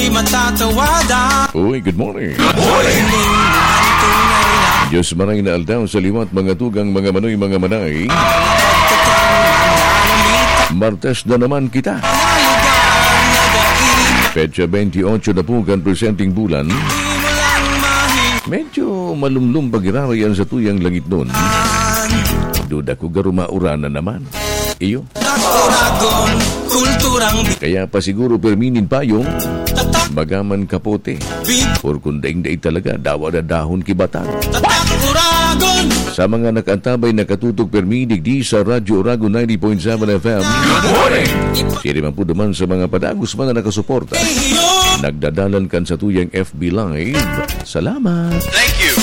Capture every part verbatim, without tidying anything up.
Matatawadan. Uy, good morning. Good morning. Diyos maray na aldaw sa liwat, mga tugang, mga manoy, mga manay. Pagkatang mananamit. Martes na naman kita. Naligaw na daig. Petsa twenty-eight na po kan presenteng bulan. Di mo lang mahi- Medyo malumlum pagiraray an satuyang langit nun. Duda ko garo mauranan naman. Iyo. Tatak Oragon, kulturang bi- Kaya pa siguro permi nin payong, Tatak bagaman kapote. Big Or kung daing dai talaga, dawa na dahon ki batang. Tatak Oragon. Sa mga nakaantabay, nakatutok permi digdi sa Radyo Oragon ninety point seven F M. Good morning. Siya naman po naman sa mga padagos man na nakasuporta. Iyo. Nagdadalan kan satuyang F B Live. Salamat. Thank you.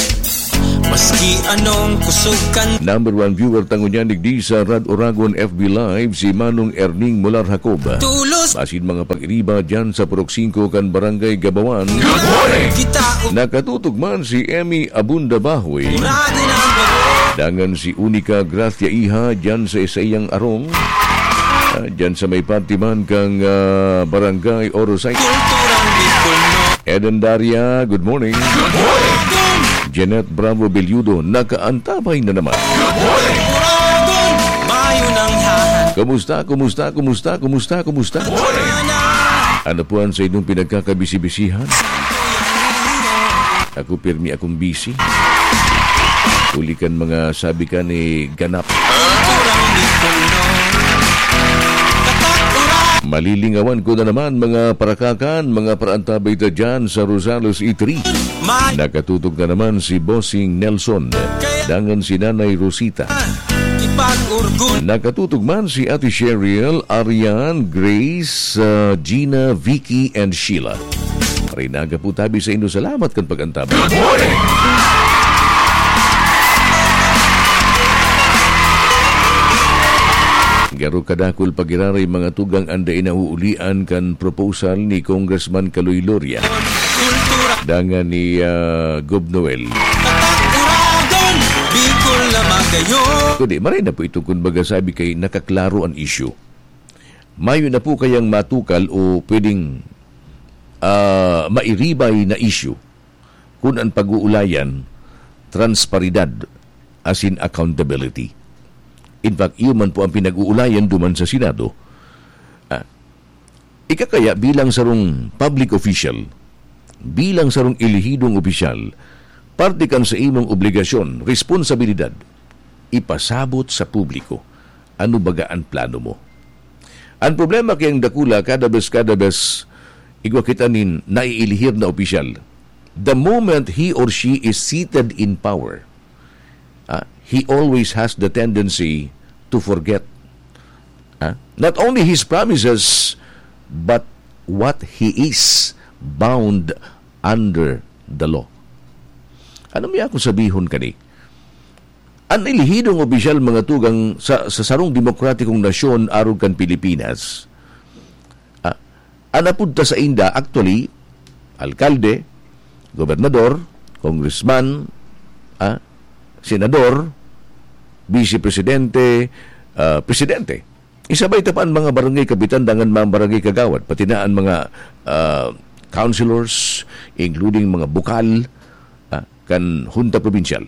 Maski anong kusog kan Number one viewer ta ngunyan digdi sa Rad Oragon F B Live, si Manong Erning Molar Jacob. Tulos. Asin mga pag-iriba dyan sa Purok singko kan Barangay Gabawan. Good morning. Kita u- Nakatutok man si Emmy Abunda Bahoy. Murado ng Dangan si Unica Gracia Iha dyan sa saiyang arong. Ah, dyan sa may parte man kang, ah, Barangay Orosay. Kulturang Bicol, no? Eden Daria, good morning. Good morning. Jeanette Bravo Belludo, nakaantabay na naman. Good morning. Oragon, mayo nang hahan. Kumusta, kumusta, kumusta, kumusta, kumusta? Good morning. Ano po ang sa inyong pinagkakabisi-bisihan? Ako, pirmi akong busy. Huli kan mga sabi ka ni ganap. Malilingawan ko na naman, mga parakakan, mga paraantabay ta dyan sa Rosales E three. Nakatutok na naman si Bossing Nelson, dangan si Nanay Rosita. Nakatutok man si Ate Cheryl, Arian, Grace, uh, Gina, Vicky, and Sheila. Marhay na aga po tabi sa inyo. Salamat kan pag-antabay. Good morning! Garo kadakul pagiraray mga tugang an dai nauulian kan proposal ni Congressman Kaloy Loria. Dangan ni, ah, Gob Noel. Kundi, maray na po ito, kun baga sabi kay nakaklaro an issue. Mayo na po kayang matukal o pwedeng, ah, mairibay na issue kun an pag-uulayan, transparidad, asin accountability. In fact, iyo man po ang pinag-uulayan duman sa Senado. Ah, ika kaya bilang sarong public official, bilang sarong elehidong opisyal, parte kan sa imong obligasyon, responsabilidad, ipasabot sa publiko ano baga an plano mo. An problema kayang dakula, kada bes, kada bes, igwa kita nin naiilihir na opisyal. The moment he or she is seated in power, ah, he always has the tendency to forget, ah, not only his promises, but what he is bound under the law. Ano mi ako sabihon kani? An elehidong opisyal, mga tugang, sa, sa sarong demokratikong nasyon arog kan Pilipinas, ah, an apod ta sainda, actually, alkalde, gobernador, congressman, ah, senador, vice presidente, ah, presidente. Isabay ta pa an mga barangay kapitan dangan mga barangay kagawad, pati na an mga, ah, councilors, including mga bukal, ah, kan Hunta Probinsyal.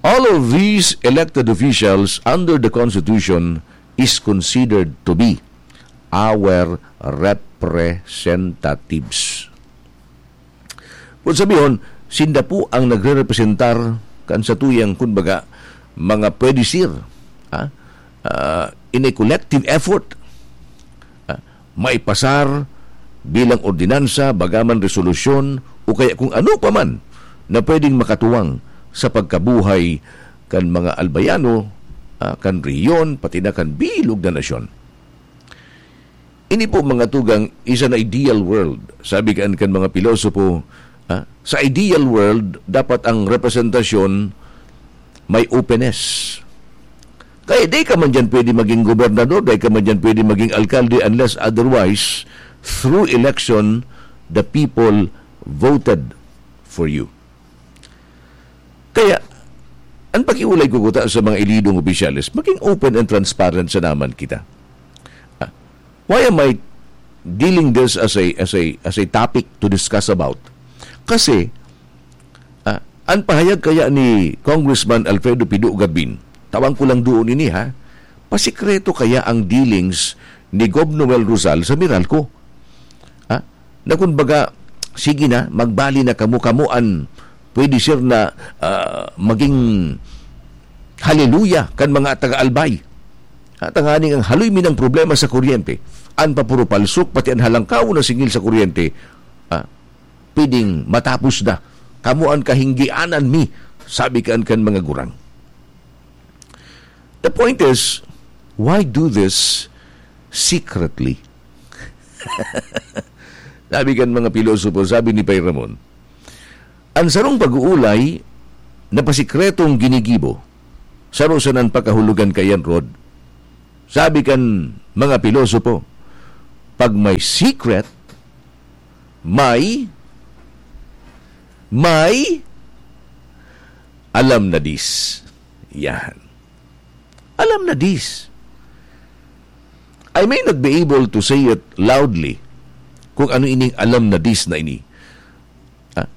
All of these elected officials under the Constitution is considered to be our representatives. Kung sabihon, sinda po ang nagrerepresentar kan satuyang, kumbaga, mga pwede sir, ha? Ah, in a collective effort, ah, maipasar bilang ordinansa, bagaman resolusyon, o kaya kung ano pa man na pwedeng makatuwang sa pagkabuhay kan mga albayano, ah, kan rehiyon, pati na kan bilog na nasyon. Ini po, mga tugang, is an ideal world. Sabi kan, kan mga pilosopo, ah, sa ideal world, dapat ang representasyon may openness. Kaya di ka man dyan pwede maging gobernador, di ka man dyan pwede maging alkalde unless otherwise, through election, the people voted for you. Kaya, ang pakiulay ko kuta sa mga elidong opisyales, maging open and transparent sa naman kita. Ah, why am I dealing this as a, as a, as a topic to discuss about. Kasi, ah, ang pahayag kaya ni Congressman Alfredo Pido Gabin, tawang ko lang doon ini, ha? Pasikreto kaya ang dealings ni Gob Noel Rosal sa Meralco? Ha? Na kumbaga, "Sige na, magbali na kamo, kamo an pwede, sir, na, ah, maging haleluya kan mga taga-Albay." Ha, tanganing ang haloy mi ng problema sa kuryente, an papuro palsok, pati an halangkaw na singil sa kuryente, ah, pwedeng matapos na. "Kamo an kahinggianan mi," sabi kan, kan mga gurang. The point is, why do this secretly? Sabi kan mga pilosopo, sabi ni Pay Ramon, "Ang sarong pag-uulay na pasikretong ginigibo, saro sanang pagkahulogan kaiyan, Rod." Sabi kan mga pilosopo, "Pag may secret, may, may alam na dis." Yan. Alam na dis. I may not be able to say it loudly kung ano ining alam na dis na ini. Ah,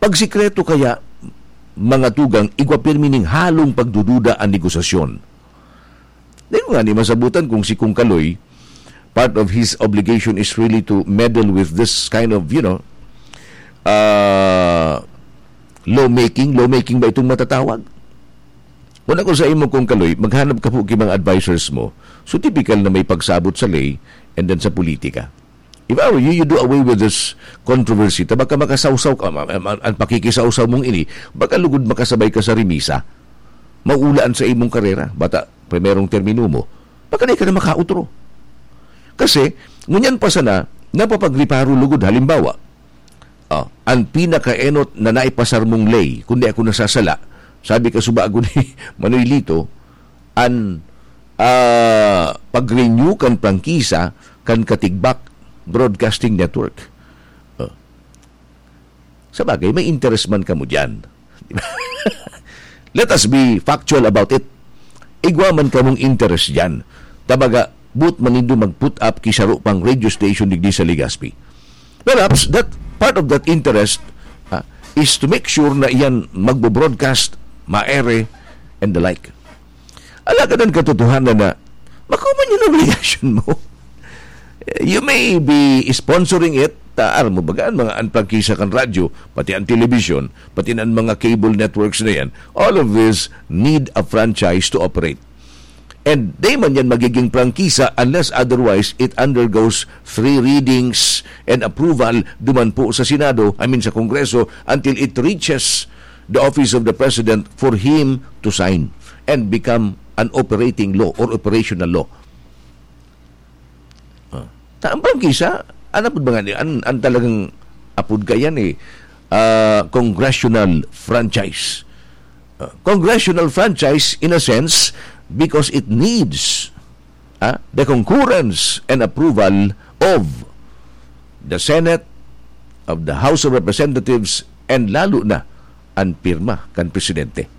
pag sikreto kaya, mga tugang, igwa pirmi ning halong pagdududa an negosasyon. Di ko nga ni masabutan kung si Kong Kaloy, part of his obligation is really to meddle with this kind of, you know, uh, lawmaking. Lawmaking ba itong matatawag? Kung ako sa imo, Kong Kaloy, maghanap ka po ki mga advisors mo. So, typical na may pagsabot sa ley and then sa politika. If I were you, you do away with this controversy. Ta baka makasawsaw ka, ma-, ma-, an pakikisawsaw mong ini, baka lugod makasabay ka sa remisa. Maulaan sa imong karera, bata, primerong termino mo, baka di ka na makautro. Kasi, ngunyan pa sana, napapagriparo lugod. Halimbawa, ah, an pinakaenot na naipasar mong ley, kung di ako nasasala, sabi ka subago ni Manoy Lito, an, ah, pag-renew kan prangkisa kan Katigbak Broadcasting Network. Ah, sa bagay, may interes man kamo diyan. Let us be factual about it. Igwa man kamong interes diyan. Ta baga, boot man nindo mag-put up ki saro pang radio station digdi sa Legazpi. Perhaps that part of that interest, ah, is to make sure na iyan magbo-broadcast, maere, and the like. Alagad an katotohanan na, makuman yun ang obligasyon mo. You may be sponsoring it, ta aram mo baga, an mga, an prangkisa kan radyo, pati an telebisyon, pati an mga cable networks na yan, all of this need a franchise to operate. And di man yan magiging prangkisa unless otherwise it undergoes three readings and approval duman po sa Senado, I mean sa Kongreso, until it reaches the office of the President for him to sign and become an operating law or operational law. Ah, ta-, ang prangkisa, an apod ba nga ni-, an, an talagang apod kayan eh, ah, congressional franchise. Ah, congressional franchise in a sense because it needs, ah, the concurrence and approval of the Senate, of the House of Representatives, and lalo na an pirma kan presidente.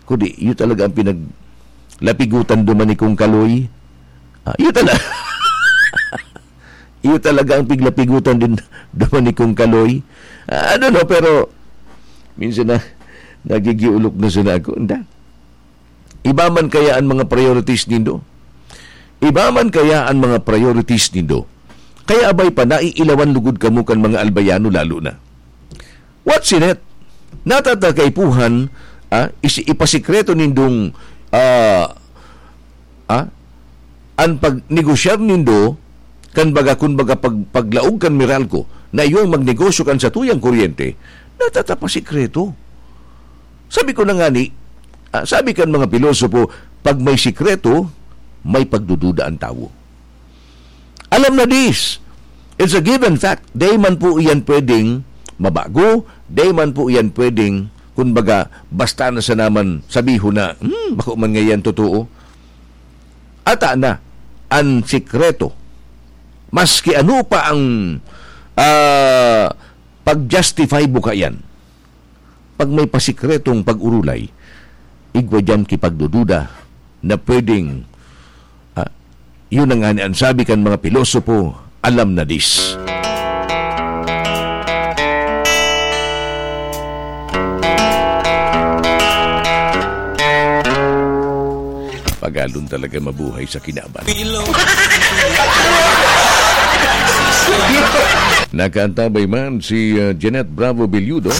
Kundi, iyo talaga ang pinaglapigutan duman ni Kong Kaloy. Ah, iyo tala-, iyo talaga ang piglapigutan din duman ni Kong Kaloy. Ah, I don't know, pero minsan na, nagigiulok na sana ako. Anda. Iba man kaya ang mga priorities nindo? Iba man kaya ang mga priorities nindo? Kaya abay pa, naiilawan lugod kamo kan mga Albayano lalo na. What's in it? Natatakaipuhan, ah, isi-, ipasikreto nindong, ah, ah, an pagnegosyar nindo, kan baga, kun baga, pag-, paglaog kan Meralco, na iyo ang magnegosyo kan satuyang kuryente, natatapasikreto. Sabi ko na nga ni, ah, sabi kan mga pilosopo, pag may sikreto, may pagdududa ang tawo. Alam na dis. It's a given fact. Di man po iyan pwedeng mabago. Di man po iyan pwedeng, kumbaga, basta na sa naman sabihon na, "Hmm, bako man ngayon totoo." Ata na, ang sikreto. Maski ano pa ang, ah, pag-justify mo kaiyan. Pag may pasikretong pag-urulay, igwa diyan ki pagdududa na pwedeng, ah, Yun na ngani an sabi kan mga pilosopo, alam na dis. Pagalon talaga mabuhay sa kinaban. Nakaantabay man si, ah, Jeanette Bravo Belludo,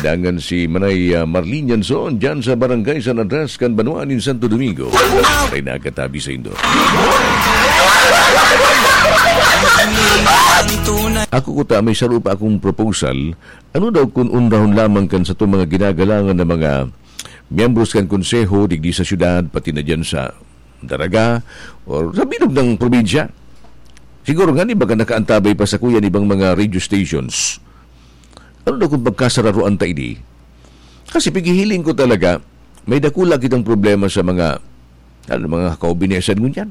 dangan si Manay, ah, Marlene Yanson, dyan sa Barangay San Andres, kan Banwaan nin Santo Domingo. Ay nakatabi sa indo. Ako kuta, may saro pa akong proposal. Ano daw kun unrahon lamang kan satong mga ginagalangan na mga miyembros kan konseho digdi sa syudad, pati na dyan sa Daraga, or sa bilog ng probinsya? Siguro nga ni baga nakaantabay pa sa kuya ibang mga radio stations. Ano daw kung pagkasararuan ta ini? Kasi pigihiling ko talaga, may dakula kitang problema sa mga, ano, mga kaubinesan ngunyan.